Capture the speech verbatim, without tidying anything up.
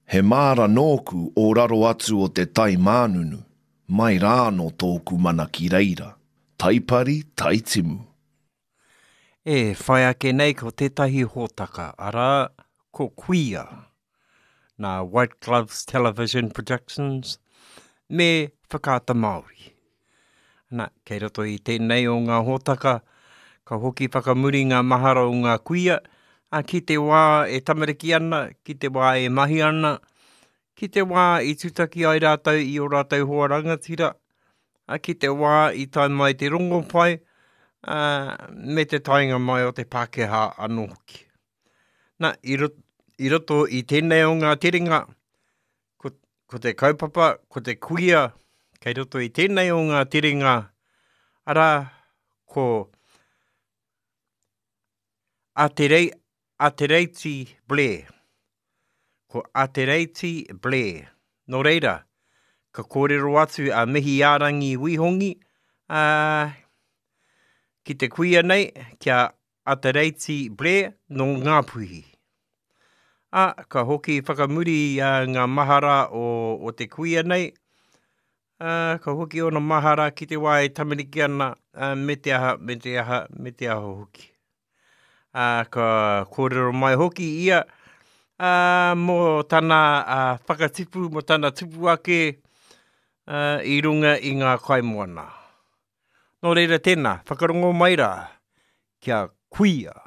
He māra nōku o raro atu o te tai mānunu, mai rānō tōku mana ki reira, taipari, taitimu. E whai ake nei ko tētahi hōtaka, arā, ko Kuia, nā White Gloves Television Productions me Whakaata Māori. Nā, kei roto i tēnei o ngā hōtaka, ka hoki whakamuri ngā mahara o ngā kuia, ā, ki te wā e tamariki ana, ki te wā e mahi ana, ki te wā i tutaki ai rātou i ō rātou hoa rangatira, ā, ki te wā i tae mai te rongopai, ā, me te taenga mai o te Pākehā anō hoki. Nā, i roto, i roto i tēnei o ngā terenga, ko, ko te kaupapa, ko te kuia, kei roto i tēnei o ngā terenga, arā, ko Aterei, Atereiti Blair. Ko Atereiti Blair. Nō reira, ka kōrero atu a Mihiārangi Wihongi, ā, ki te kuia nei, ki a Atereiti Blair nō Ngāpuhi. Ā, ka hoki whakamuri ngā mahara o, o te kuia nei, ā, ka hoki ōna mahara ki te wā e tamariki ana, ā, me te aha, me te aha, me te aha hoki. Ā, ka kōrero mai hoki ia, ā, mō tana ā, whakatipu, mō tana tupu ake ā, i runga i ngā kaimoana. Nō reira tēnā, whakarongo mai rā, kia kuia.